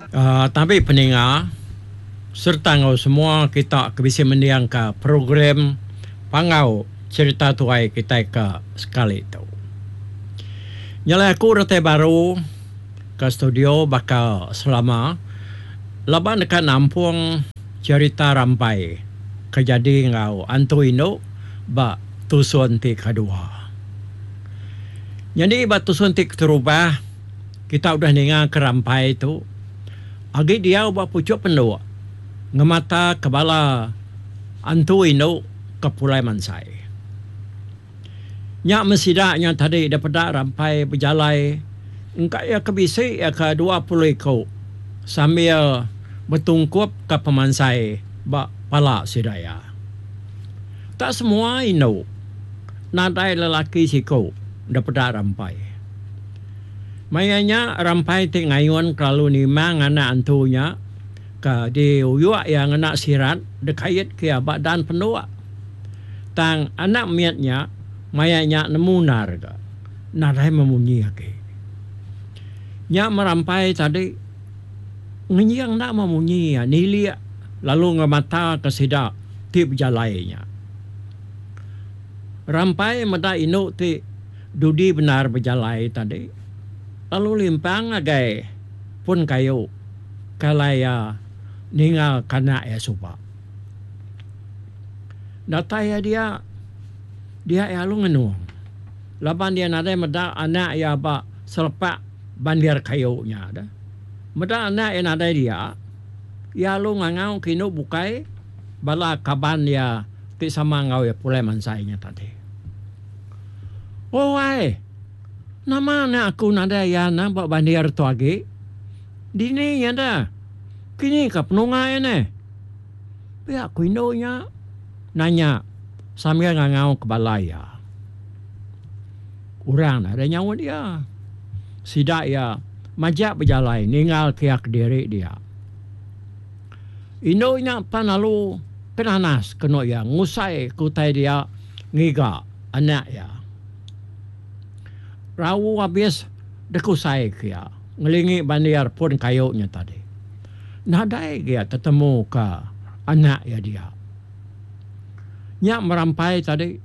Tabi peninga sereta enggau semua kita ke bisi mendingka program Panggau Cherita Tuai kitai ke sekali tu. Nyelai aku datai baru ke studio baka selama laban deka nampung cherita rampai ke jadi enggau antu indu ba tusun ti kedua. Nyadi ba tusun ti keterubah kita udah ninga ke rampai tu agi diau ba puchuk penduk ngemata ke bala antu indu ke pulai mansai. Nya meh sida nya tadi da peda rampai bejalai engka iya ke bisi iya ke 20 iku sambil betungkup ke pemansai ba pala sida iya. Tak semua indu nadai lelaki siku da peda rampai. Maya nya rampai ti ngayun kelalu nimang anak antu nya ke diuyuk iya ngena sirat dikait ke iya ba dan penduk. Tang anak mit nya maya nya nemu endar ga nadai memunyi agi. Nya merampai tadi ngenjing enda memunyi iya nilik lalu ngemataka sida ti bejalai nya. Rampai meda indu ti dudi bendar bejalai tadi lalu limpang ngagai pun kayu ke alai iya ninga ke anak iya suba. Datai iya dia, dia iya lalu ngenung laban iya nadai meda anak iya ba selepak bandir kayu nya deh. Meda anak iya nadai dia, iya lalu ngangau ke indu bukai bala kaban iya ti sama enggau iya pulai mansai nya tadi. Oh ai, nama anak aku nadai iya ne ba bandir tu agi? Dini iya deh. Kini ka penunga iya neh. Pia ku indu nya nanya sambil ngangau ke bala iya. Orang nadai nyaut iya. Sida iya majak bejalai ninggal ke iya kediri dia. Indu nya pan lalu kenanas kenu iya ngusai ke utai dia ngiga anak iya. Rau abis dekusai ke iya ngelingi bandir pun kayu nya tadi. Nadai ge iya tetemu ka anak iya dia. Nya merampai tadi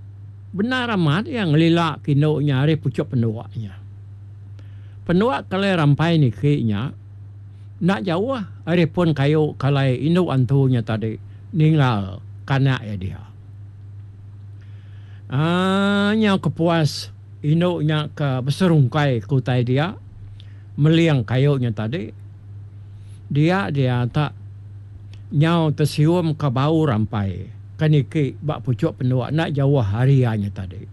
bendar amat iya ngelila ke indu nya ari puchuk penduk nya. Penduk ke alai rampai niki nya enda jauh ari pun kayu ke alai indu antu nya tadi ninggal ke anak iya dia. Aaa nyau kepuas indu nya ke beserungkai ke utai dia meling kayu nya tadi dia dia tak nyau tesium ke bau rampai ke niki ba puchuk penduk enda jauh ari iya nya tadi.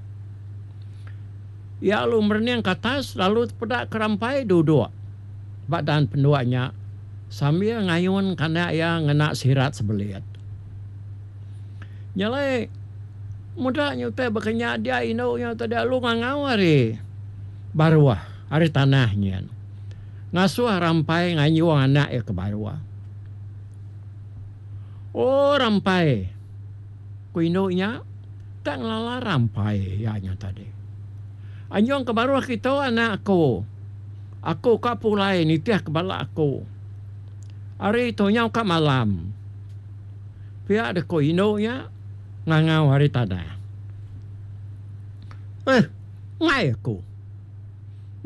Iya lalu merening ke atas lalu tepeda ke rampai duduk ba dan penduk nya sambil ngayun ke anak iya ngena sirat sebelit. Nya alai meda nya utai baka nya dia indu nya tadi alu ngangau ari baruh ari tanah nyin ngasuh rampai nganjung anak iya ke baruh. Oh rampai ku indu nya tak ngelala rampai iya nya tadi. Anjung ke baruh kitu anak aku. Aku ka pulai nitih ke bala aku. Ari tu nyau ka malam. Pia deh ko indu nya ngangau ari tanah. Eh, enggai aku.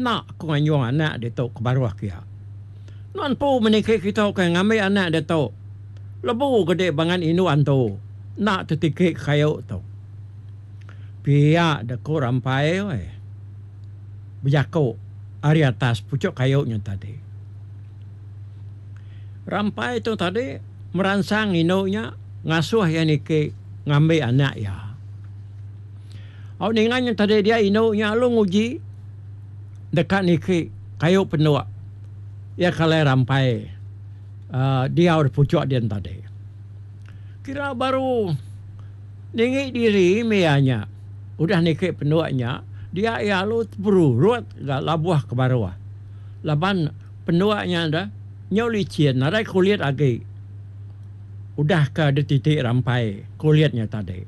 Enda aku nganjung anak ditu ke baruh kia. Nuan empu meniki kitu ke ngambi anak ditu. Lebu gede bangat indu antu enda tetiki ke kayu tu. Pia deh ko Rampai weh bejaku ari atas puchuk kayu nya tadi. Rampai tu tadi meransang indu nya ngasuh iya niki ngambi anak iya. Au ninga nya tadi dia indu nya lalu nguji deka niki kayu penduk iya ke alai rampai uhh diau da puchuk din tadi. Kira baru ninggi diri mih iya nya udah niki penduk nya dia iya lalu teperurut ga labuh ke baruh laban Penduk nya da nyau licin nadai kulit agi udah ka dititi rampai kulit nya tadi.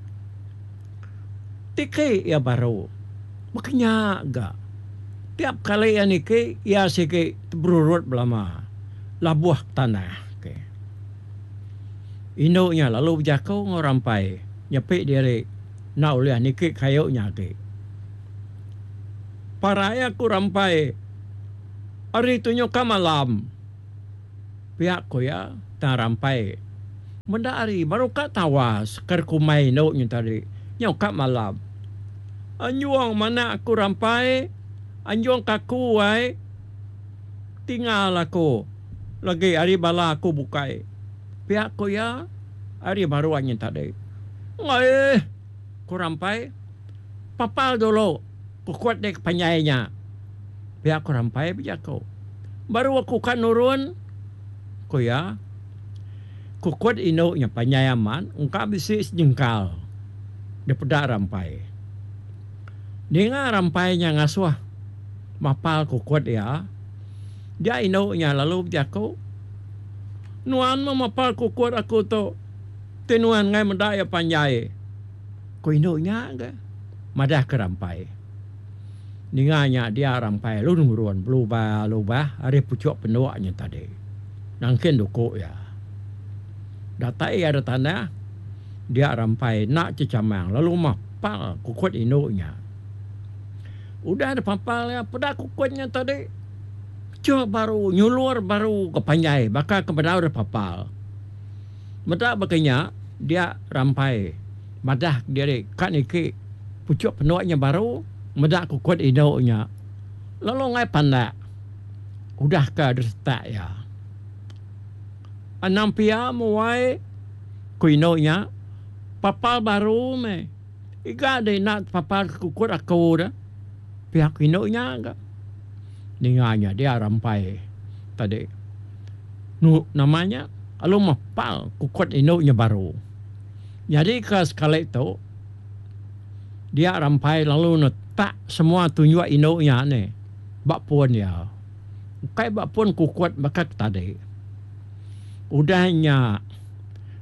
Tiki iya baru baka nya ga. Tiap kali iya niki iya sigi teberurut belama. labuh ke tanah. Okay. Indu nya lalu bejaku enggau Rampai nyepi diri enda ulih niki kayu nya agi. Parai aku Rampai ari tunjuk ka malam. Pia ku iya tang Rampai meda ari baru ka tawas ke kumbai indu nya tadi nyau ka malam. Anjung manah aku Rampai anjung ka aku ai. Tinggal aku lagi ari bala aku bukai. Pia ku iya ari baruh nyin tadi. Enggai ku Rampai. Papal dulu kukut dek panjai nya. Pia ku Rampai bejaku. Baru aku ka nurun ku iya. Kukut indu nya panjai amat engka bisi sejengkal dipeda Rampai. Ninga Rampai nya ngasuh mapal kukut iya, dia indu nya lalu bejaku, Nuan meh mapal kukut aku tu ti nuan enggai meda iya panjai. Ku indu nya ga madahka Rampai. Ninga nya dia Rampai lalu nurun belubah-lubah ari puchuk penduk nya tadi. Nangkin duku iya. Datai iya da tanah, dia Rampai enda chechamang lalu mapal kukut indu nya. Udah dipapal iya peda kukut nya tadi cheh baru nyulur baru ke panjai baka ke bedau dipapal. Meda baka nya dia Rampai madah kediri ka niki puchuk penduk nya baru meda kukut indu nya lalu enggai pandak udah ke disetak iya. Anang pia muai ku indu nya papal baru meh. Iga deh enda tepapar ke kukut aku deh. Pia ku indu nya ga. Ninga nya dia rampai tadi. Nu nama nya lalu mepal kukut indu nya baru. Nyadi ke sekali tu dia rampai lalu netak semua tunjuk indu nya nih ba pun iya. Ukai ba pun kukut baka ke tadi. Udah nya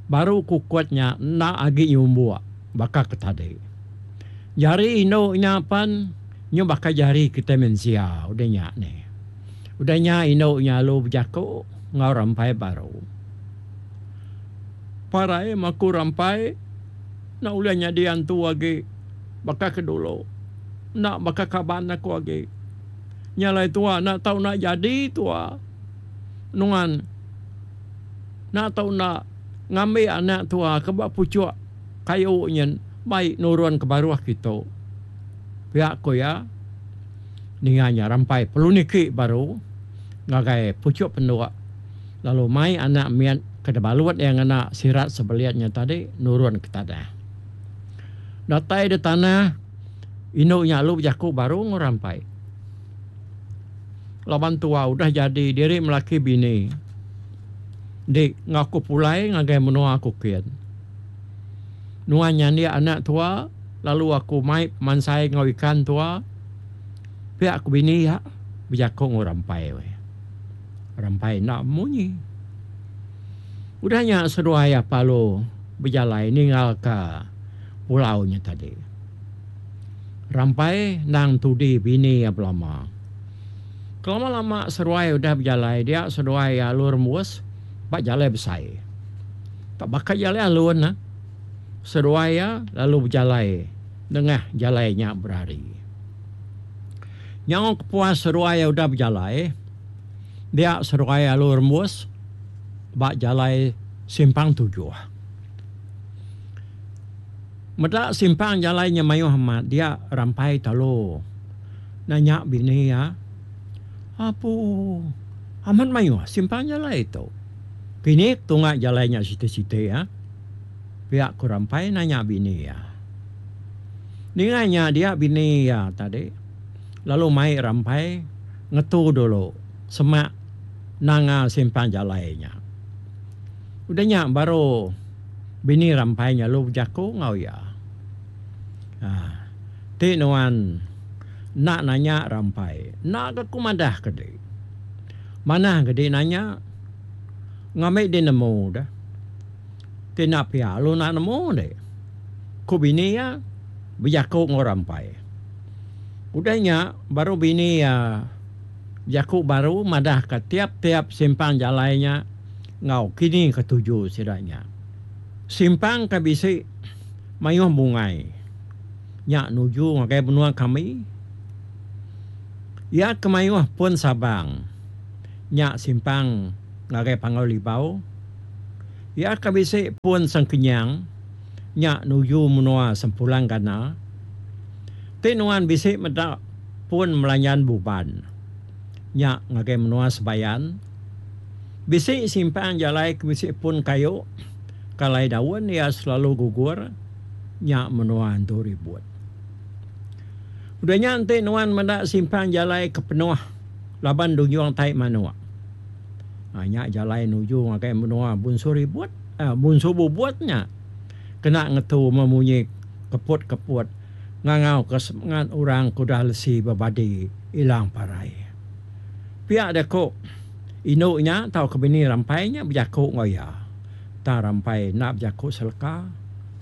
baru kukut nya enda agi nyumbuk. Baka ke tadi. Jari indu nya pan nyu baka jari kitai mensia udah nya nih. Udah nya indu nya lalu bejaku enggau rampai baru. Parai maku rampai enda ulih nyadi antu agi baka ke dulu. Enda baka kaban aku agi. Nya alai tua enda tau enda jadi tua. Nuan enda tau enda ngambi anak tua ke ba puchuk kayu nyin bai nurun ke baruh kitu. Pia ku iya, ninga nya rampai perlu niki baru ngagai puchuk penduk lalu mai anak mit ke dibalut iya ngena sirat sebelit nya tadi nurun ke tanah. Datai di tanah, indu nya lalu bejaku baru enggau rampai. Laban tua udah jadi diri melaki bini. Dik enggau aku pulai ngagai menua aku kin. Nuan nyandik anak tua lalu aku mai pemansai enggau ikan tua. Pia ku bini iya bejaku enggau Rampai. Rampai enda munyi. Udah nya seduai iya lalu bejalai ninggalka pulau nya tadi. Rampai endang tudi bini iya belama. Kelama lama seduai udah bejalai dia seduai iya alu rembus ba jalai besai. Tak baka jalai alun ne. Seduai iya lalu bejalai nengah jalai nya berari. Nyau kepuas seduai iya udah bejalai dia seduai alu rembus ba jalai simpang tujuh. Meda simpang jalai nya mayuh amat dia Rampai Talo nanya bini iya, Apu, amat mayuh simpang jalai tu. Kini tunga jalai nya siti-siti iya? Pia ku Rampai nanya bini iya. Ninga nya dia bini iya tadi lalu mai Rampai ngetu dulu semak nanga simpang jalai nya. Udah nya baru bini Rampai nya lalu bejaku enggau iya. Aaa ti nuan enda nanya Rampai enda ga ku madah ke di. Manah ga di nanya ngambi di nemu deh. Ti enda pia lalu enda nemu di. Ku bini iya bejaku enggau Rampai. Udah nya baru bini iya. Bejaku baru madahka tiap-tiap simpang jalai nya enggau kini ke tuju sida nya. Simpang ke bisi mayuh bungai nya nuju ngagai menua kami. Iya ke mayuh pun sabang nya simpang ngagai Panggau Libau. Iya ke bisi pun sengkenyang nya nuju menua Sempulang Gana. Ti nuan bisi meda pun Melanyan Buban nya ngagai menua Sebayan. Bisi simpang jalai ke bisi pun kayu ke alai daun iya selalu gugur nya menua Entu Ribut. Udah nya enti nuan meda simpang jalai ke penuh laban dunjung tai manuk. Nya jalai nuju ngagai menua Bunsu Ribut, Bunsu Bubut nya kena ngetu memunyi keput-keput ngangauka semengat orang ke udah lesi bebadi ilang parai. Pia deh ku indu nya tauka bini Rampai nya bejaku enggau iya. Tang Rampai enda bejaku seleka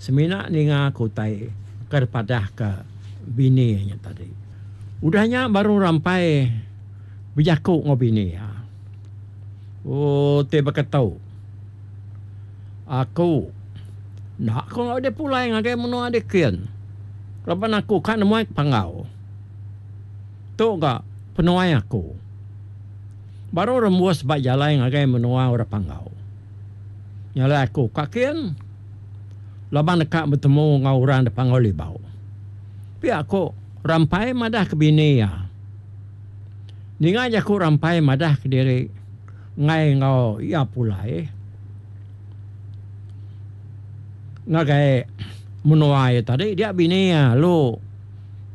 semina ninga ke utai ke dipadahka bini iya nya tadi. Udah nya baru Rampai bejaku enggau bini iya. Oh ti baka tu. Aku enda ku enggau deh pulai ngagai menua dikin laban aku ka nemuai ke Panggau. Tu ga penuai aku. Baru rembus ba jalai ngagai menua orang Panggau. Nya alai aku ka kin laban deka betemu enggau orang da Panggau Libau. Pia ku Rampai madah ke bini iya. Ninga jaku Rampai madah kediri enggai enggau iya pulai ngagai menua iya tadi dia bini iya lalu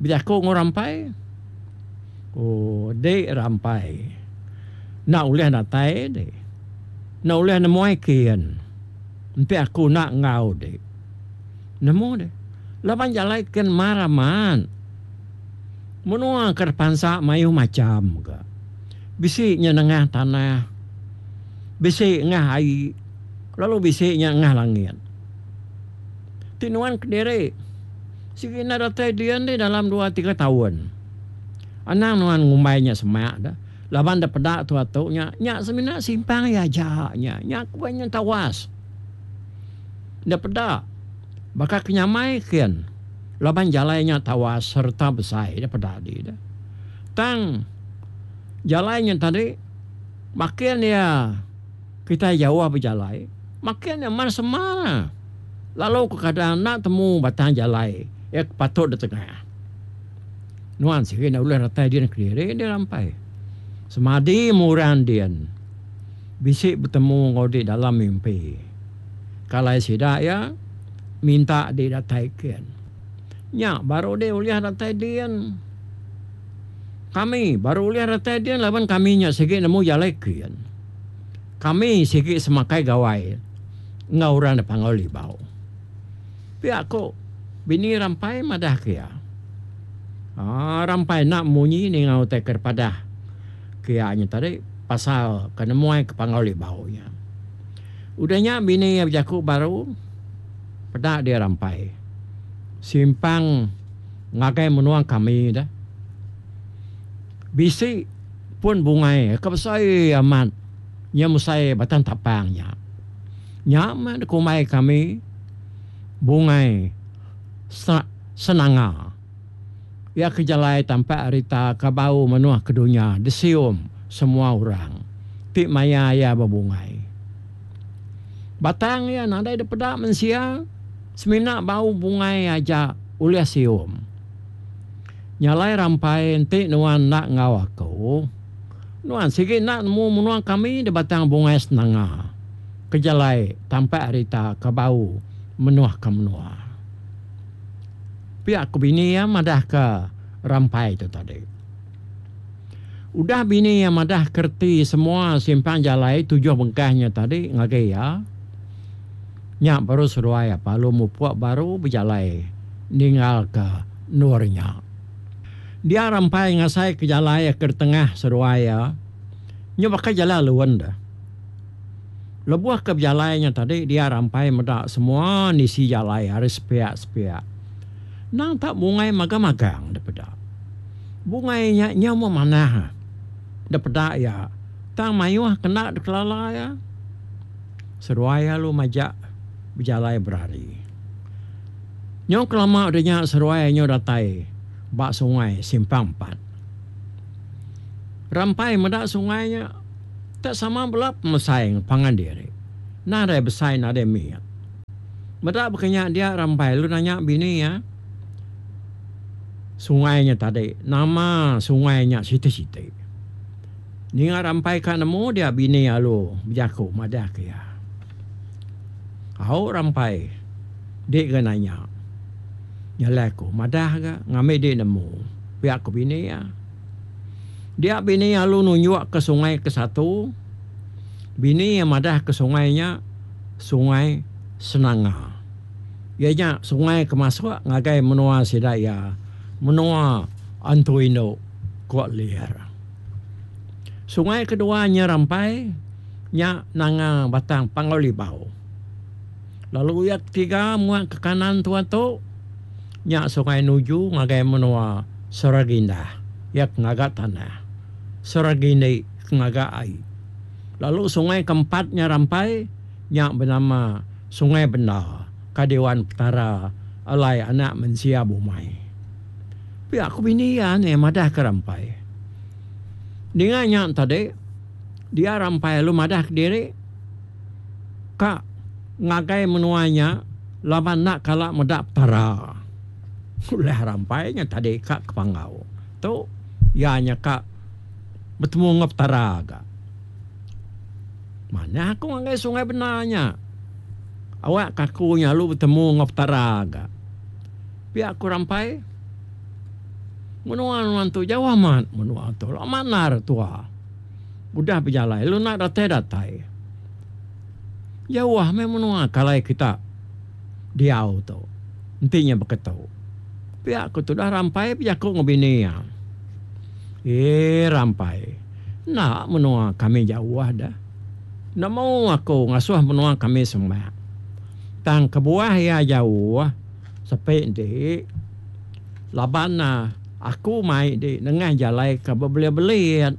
bejaku enggau Rampai. Oh dik Rampai enda ulih datai dik enda ulih nemuai kin enti aku enda enggau dik. Nemu deh. Laban jalai kin mar amat. Menua ke dipansa mayuh macham ga. Bisi nya nengah tanah, bisi ngah ai lalu bisi nya ngah langit. Ti nuan kediri sigi enda datai din deh dalam dua tiga taun. Anang nuan ngumbai nya semak deh laban da peda tua tu nya, nya semina simpang iya aja nya. Nya ku nya tawas. Enda peda baka ke nyamai kin laban jalai nya tawas sereta besai da peda adi da. Tang jalai nya tadi makin iya kitai jauh bejalai makin iya mar semar lalu kekadang enda temu batang jalai iya ke patut ditengah. Nuan sigi enda ulih datai din kediri deh rampai. Semadi murang din bisi betemu enggau di dalam mimpi. Kalai sida iya minta di datai kin. Nya baru deh ulih datai din. Kami baru ulih datai din laban kami nya sigi nemu jalai kin. Kami sigi semakai gawai enggau orang da Panggau Libau. Pia ku bini Rampai madah ke iya. Aa Rampai enda munyi ninga utai ke dipadah ke iya nya tadi pasal ke nemuai ke Panggau Libau nya. Udah nya bini iya bejaku baru peda dia Rampai simpang ngagai menua kami deh. Bisi pun bungai ke besai amat nya mesai batang tapang nya. Nya meh dikumbai kami bungai senanga. Iya ke jalai tampak rita ke bau menuh ke dunya disium semua orang ti maya iya bebungai. Batang iya nadai dipeda mensia semina bau bungai aja ulih sium. Nya alai rampai enti nuan enda enggau aku, nuan sigi enda nemu menua kami di Batang Bungai Senanga ke jalai tampak rita ke bau menuh ke menua. Pia ku bini iya madahka Rampai tu tadi. Udah bini iya madah ke reti semua simpang jalai tujuh bengkah nya tadi ngagai iya, nya baru seduai apai lalu mupuk baru bejalai ninggalka endur nya. Dia Rampai ngasaika jalai ke ditengah seduai iya nya baka jalai alun deh. Lebuh ke bejalai nya tadi dia Rampai meda semua nisi jalai ari sepiak-sepiak. Endang tak bungai magang-magang dipeda. Bungai nya nyau memanah. dipeda iya tang mayuh kena dikelala iya. Seduai iya lalu majak bejalai berari. Nyau kelama udah nya seduai nyau datai ba sungai Simpang Empat. Rampai meda sungai nya tak sama bela pemesai enggau pangan diri. Nadai besai nadai mit. Meda baka nya dia Rampai lalu nanya bini iya sungai nya tadi nama sungai nya siti-siti. Ninga Rampai ka nemu dia bini alu bejaku madah ke iya. Au Rampai dik ga nanya. Nyalai aku madah ga ngambi dik nemu pia ku bini iya. Dia bini alu nunjuk ke sungai ke satu. Bini iya madah ke sungai nya Sungai Senanga. Iya nya sungai ke masuk ngagai menua sida iya menua Antu Indu, ku Lir. Sungai kedua nya Rampai nya nanga Batang Panggau Libau. Lalu iya ketiga muak ke kanan tua tu nya sungai nuju ngagai menua Seragindah iya ke ngaga tanah, Seragindi ke ngaga ai. Lalu sungai keempat nya Rampai nya benama Sungai Benda ka diwan Petara alai anak mensia bumai. Pia ku bini iya nih madah ke Rampai. Ninga nya tadi dia Rampai lalu madah kediri ka ngagai menua nya laban enda kala meda Petara. Ulah Rampai nya tadi ka ke Panggau tu iya nya ka betemu enggau Petara ga. Manah aku ngagai Sungai Bena nya. Awak ka aku nya lalu betemu enggau Petara ga. Pia ku Rampai. Menua nuan tu jauh amat menua tu lama endar tua udah bejalai lalu enda datai-datai. Jauh meh menua ke alai kita diau tu enti nya baka tu. Pia ku tudah Rampai bejaku enggau bini iya. Eee Rampai, enda menua kami jauh deh. Nemu aku ngasuh menua kami semak. Tang kebuah iya jauh sepi enti laban aku mai di nengah jalai ke bebelit-belit.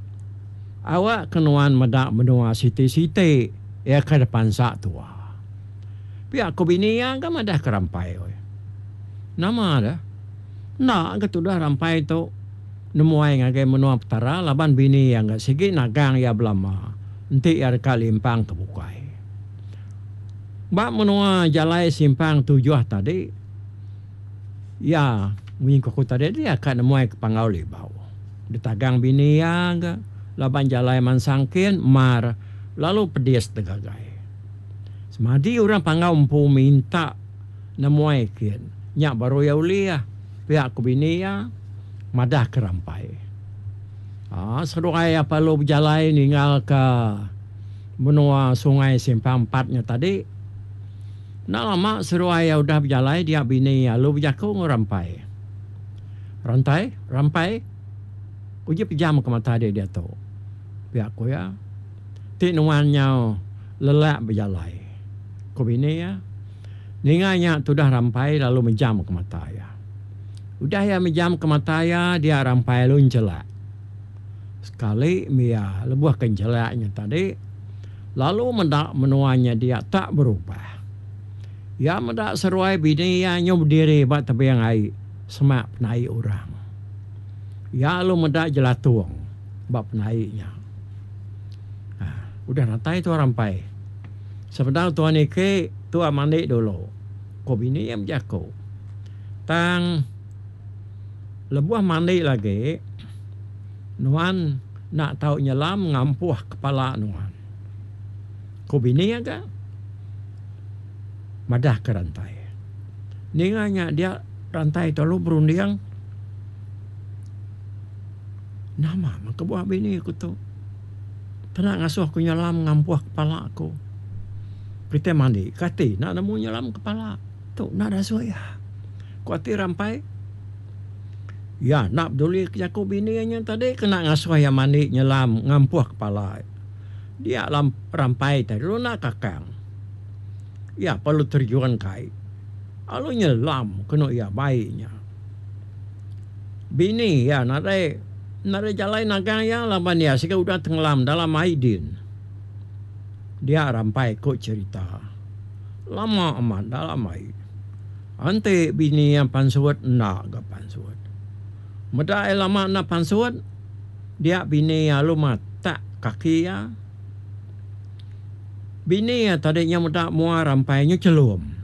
Awak ke nuan meda menua siti-siti iya ke dipansa tua. Pia ku bini iya ga madah ke Rampai. Nama deh. Enda ga tudah Rampai tu. Nemuai ngagai menua Petara laban bini iya enggau sigi nagang iya belama enti iya deka limpang ke bukai. Ba menua jalai simpang tujuh tadi, iya munyi ku aku tadi dia ka nemuai ke Panggau Libau. Ditagang bini iya ga laban jalai mansang kin mar lalu pedis degagai. Semadi orang Panggau empu minta nemuai kin nya baru iya ulih pia ku bini iya. Madah ke Rampai. Aa seduai iya perlu bejalai ninggal ke menua Sungai Simpang Empat nya tadi. Enda lama seduai iya udah bejalai dia bini iya lalu bejaku enggau Rampai. Rantai, Rampai, uji pejam ke mata dek diatu. Pia ku iya. Ti nuan nyau lelak bejalai. Ku bini iya. Ninga nya tudah Rampai lalu mejam ke mata iya. Udah iya mejam ke mata iya dia Rampai lalu enchelak. Sekali mih iya lebuh ke enchelak nya tadi lalu meda menua nya dia tak berubah. Iya meda seruai bini iya nyu bediri ba tebing ai semak penai orang. Iya lalu meda jelatung ba penai nya. Udah datai tua Rampai. Sebedau tua niki, tua mandi dulu, ku bini iya bejaku. Tang lebuh mandi lagi, nuan enda tau nyelam ngampuh kepala nuan, ku bini iya ga madahka Rantai. Ninga nya dia Rantai tu lalu berunding, Nama meh kebuah bini ku tu. Kena ngasuh ku nyelam ngampuh kepala ku. Kitai mandi kati enda nemu nyelam kepala. Tu enda dasuh iya. Ku ati Rampai. Iya enda peduli ke jaku bini iya nya tadi kena ngasuh iya mandi nyelam ngampuh kepala. Dia Rampai tadi lalu enda kakang. Iya perlu terjun ke ai. Lalu nyelam kenu iya bai nya. Bini iya nadai. Nadai jalai nagang iya laban iya siga udah tengelam dalam ai din. Dia rampai ku cherita. Lama amat dalam ai. Enti bini iya pansut enda ga pansut. Meda iya lama enda pansut, dia bini iya lalu matak kaki iya. Bini iya tadi nya meda mua rampai nya chelum.